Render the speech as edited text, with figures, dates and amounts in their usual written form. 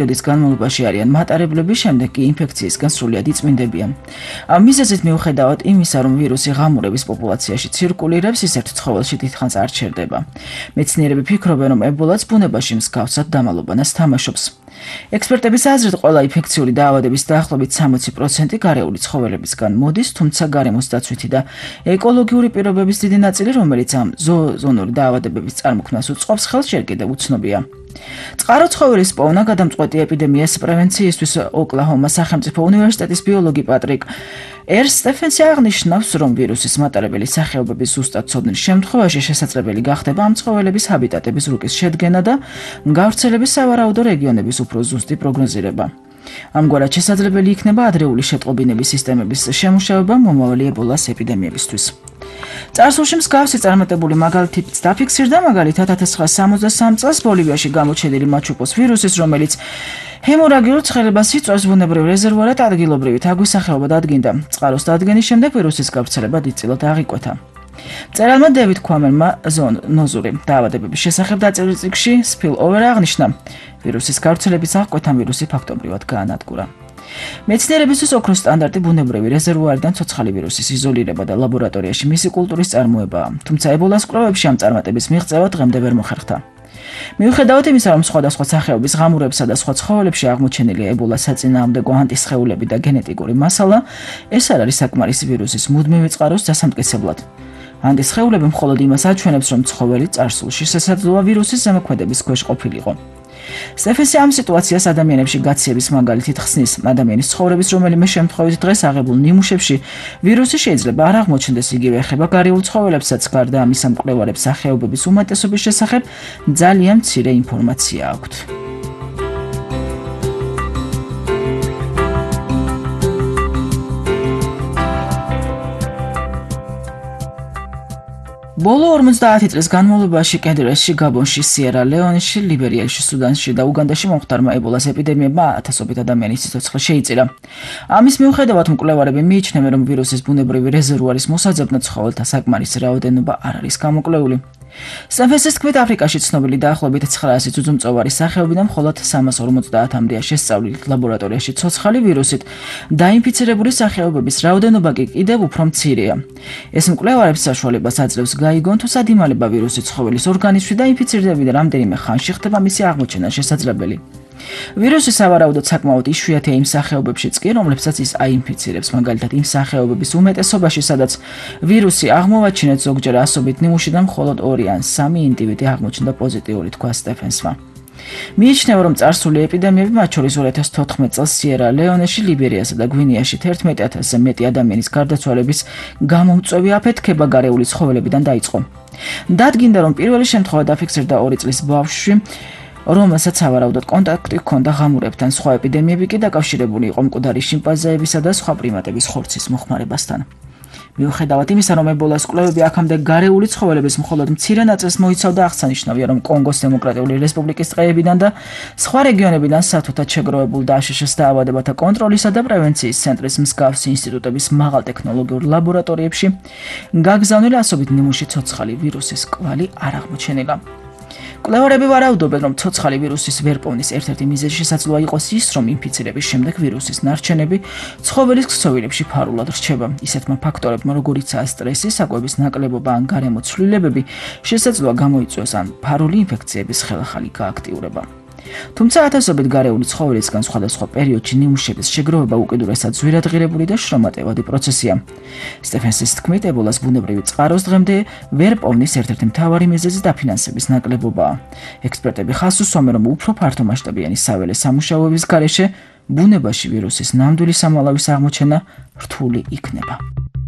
პერიოდის განმავლობაში არიან მატარებლები, შემდეგ კი ინფექციისგან სრულად იწმინდებიან. ამ მიზეზით მიუხედავად იმისა, რომ ვირუსი ღამურების პოპულაციაში ცირკულირებს, ის ერთ ცხოველში დიდხანს არ ჩერდება. მეცნიერები ფიქრობენ, რომ ებოლაც ბუნებაში მსგავსად დამალობანას თამაშობს. ექსპერტების აზრით, ყველა ინფექციური დაავადების დაახლოებით 60% გარეული ცხოველებისგან მოდის, თუმცა გარემოს დაცვითი და ეკოლოგიური პირობების დიდი ნაწილი, რომელიც ამ ზოონური დაავადებების წარმოქმნას უწყობს, ხელს ჯერ კიდევ უცნობია. წყარო ცხოველის პოვნა გადამწყვეტი ეპიდემიას პრევენციისთვის ოკლაჰომას სახელმწიფო უნივერსიტეტის ბიოლოგი პატრიკ სტეფენსი აღნიშნავს, რომ ვირუსის მატარებელი სახეობების ზუსტად ცოდნის შემთხვევაში შესაძლებელი გახდება ამ ცხოველების ჰაბიტატების რუკის შედგენა და გავრცელების სავარაუდო რეგიონების უფრო ზუსტი პროგნოზირება. ამგვარად შესაძლებელი იქნება ადრეული შეტყობინების სისტემების შემუშავება მომავალი ებოლას ეპიდემიებისთვის. წარსულში მსგავსი წარმატებული მაგალითიც დაფიქსირდა, მაგალითად 1963 წელს ბოლივიაში გამოჩენილი მაჩუპოს ვირუსის, რომელიც ჰემორაგიულ ცხელებას იწვევს ბუნებრივ რეზერვუარად ადგილობრივი თაგვის სახეობა დადგინდა. წყაროს დადგენის შემდეგ ვირუსის გავრცელება დიდწილად აღიკვეთა. მწერალმა დევიდ ქვამელმა ზოონოზური დაავადებების შესახებ დაწერილ წიგნში Spillover აღნიშნა, ვირუსის გავრცელების აღკვეთამ ვირუსი ფაქტობრივად გაანადგურა. მეცნიერებისთვის ოქროს სტანდარტი ბუნებრივი რეზერვუარიდან ცოცხალი ვირუსის იზოლირება და ლაბორატორიაში მისი კულტურის წარმოებაა, თუმცა ებოლას კვლევებში ამ წარმატების მიღწევა დღემდე ვერ მოხერხდა. მიუხედავად იმისა, რომ სხვადასხვა სახეობის ღამურებსა და სხვა ცხოველებში აღმოჩენილი ებოლას საწინააღმდეგო ანტისხეულები და გენეტიკური მასალა, ეს არ არის საკმარისი ვირუსის მუდმივი წყაროს დასამტკიცებლად. ანტისხეულები მხოლოდ იმას აჩვენებს, რომ ცხოველი წარსულში შესაძლოა ვირუსის ზემოქმედების ქვეშ ყოფილიყო. სტეფენსი ამ სიტუაციას ადამიანებში გაციების მაგალითით ხსნის. ადამიანის ცხოვრების რომელიმე შემთხვევით დღეს აღებულ ნიმუშებში ვირუსი შეიძლება არ აღმოჩნდეს, იგივე ეხება გარეულ ცხოველებსაც, გარდა ამისა მკვლევარებს სახეობების უმეტესობის შესახებ ძალიან მცირე ინფორმაცია აქვთ. ბოლო 50 წლის განმავლობაში კენიაში, გაბონში, სიერა ლეონეში, ლიბერიაში, სუდანში და უგანდაში მომხდარმა ებოლას ეპიდემიებმა ათასობით ადამიანის სიცოცხლე შეიწირა. ამის მიუხედავად მკვლევარები მიიჩნევენ, რომ ვირუსის ბუნებრივი რეზერვუარის მოსაძებნად ცხოველთა საკმარისი რაოდენობა არ არის გამოკვლეული. სტეფენსის თქმით, აფრიკაში ცნობილი დაახლოებით 900 ძუძუმწოვარი სახეობიდან მხოლოდ 350-მდეა შესწავლილი ლაბორატორიაში ცოცხალი ვირუსით, დაინფიცირებული სახეობების რაოდენობა კი კიდევ უფრო მცირეა. ეს მკვლევარებს საშუალებას აძლევს გაიგონ, თუ სად იმალება ვირუსი ცხოველის ორგანიზმში და ინფიცირდება და რამდენიმე ხანში ხდება მისი აღმოჩენა შესაძლებელი. ვირუსი სავარაუდოდ საკმაოდ იშვიათია იმ სახეობებშიც კი, რომლებსაც ის აინფიცირებს, მაგალითად იმ სახეობების უმეტესობაში, სადაც ვირუსი აღმოვაჩინეთ ზოგჯერ ასობით ნიმუშიდან მხოლოდ 2 ან 3 ინდივიდი აღმოჩნდა პოზიტიური, თქვა სტეფენსმა. მიიჩნევა, რომ წარსული ეპიდემიები, მათ შორის 2014 წელს სიერა ლეონეში, ლიბერიასა და გვინეაში 11,000-ზე მეტი ადამიანის გარდაცვალების გამომწვევი აფეთქება გარეული ცხოველებიდან დაიწყო. დადგინდა, რომ პირველი შემთხვევა დაფიქსირდა 2 წლის ბავშვში, რომელსაც სავარაუდოდ კონტაქტი ჰქონდა ღამურებთან. სხვა ეპიდემიები კი დაკავშირებული იყო მკვდარი შიმპანზეებისა და სხვა პრიმატების ხორცის მოხმარებასთან. მიუხედავად იმისა, რომ ებოლას კვლევები აქამდე გარეული ცხოველების მხოლოდ მცირე ნაწილს მოიცავდა, აღსანიშნავია, რომ კონგოს დემოკრატიული რესპუბლიკის ტყეებიდან და სხვა რეგიონებიდან სათუთად შეგროვებულ დაშშ-ს დაავადებათა კონტროლისა და პრევენციის ცენტრის მსგავსი ინსტიტუტების მაღალ ტექნოლოგიურ ლაბორატორიებში გაგზავნილი ასობით ნიმუში ცოცხალი ვირუსის კვალი არ აღმოჩენილა. მკვლევარები ვარაუდობენ, რომ ცოცხალი ვირუსის ვერპოვნის ერთ-ერთი მიზეზი შესაძლოა იყოს ის, რომ ინფიცირების შემდეგ ვირუსის ნარჩენები ცხოველის ქსოვილებში ფარულად რჩება. ისეთმა ფაქტორებმა, როგორიცაა სტრესი, საკვების ნაკლებობა ან გარემო ცვლილებები, შესაძლოა გამოიწვიოს ან ფარული ინფექციების ხელახალი გააქტიურება. თუმცა ათასობით გარეული ცხოველისგან სხვადასხვა პერიოდში ნიმუშების შეგროვება უკიდურესად ძვირადღირებული და შრომატევადი პროცესია. სტეფენსის თქმით, ებოლას ბუნებრივი წყაროს დღემდე ვერ პოვნის ერთ-ერთი მთავარი მიზეზი დაფინანსების ნაკლებობაა. ექსპერტები ხაზს უსვამენ, რომ უფრო ფართომასშტაბიანი საველე სამუშაოების გარეშე ბუნებაში ვირუსის ნამდვილი სამალავის აღმოჩენა რთული იქნება.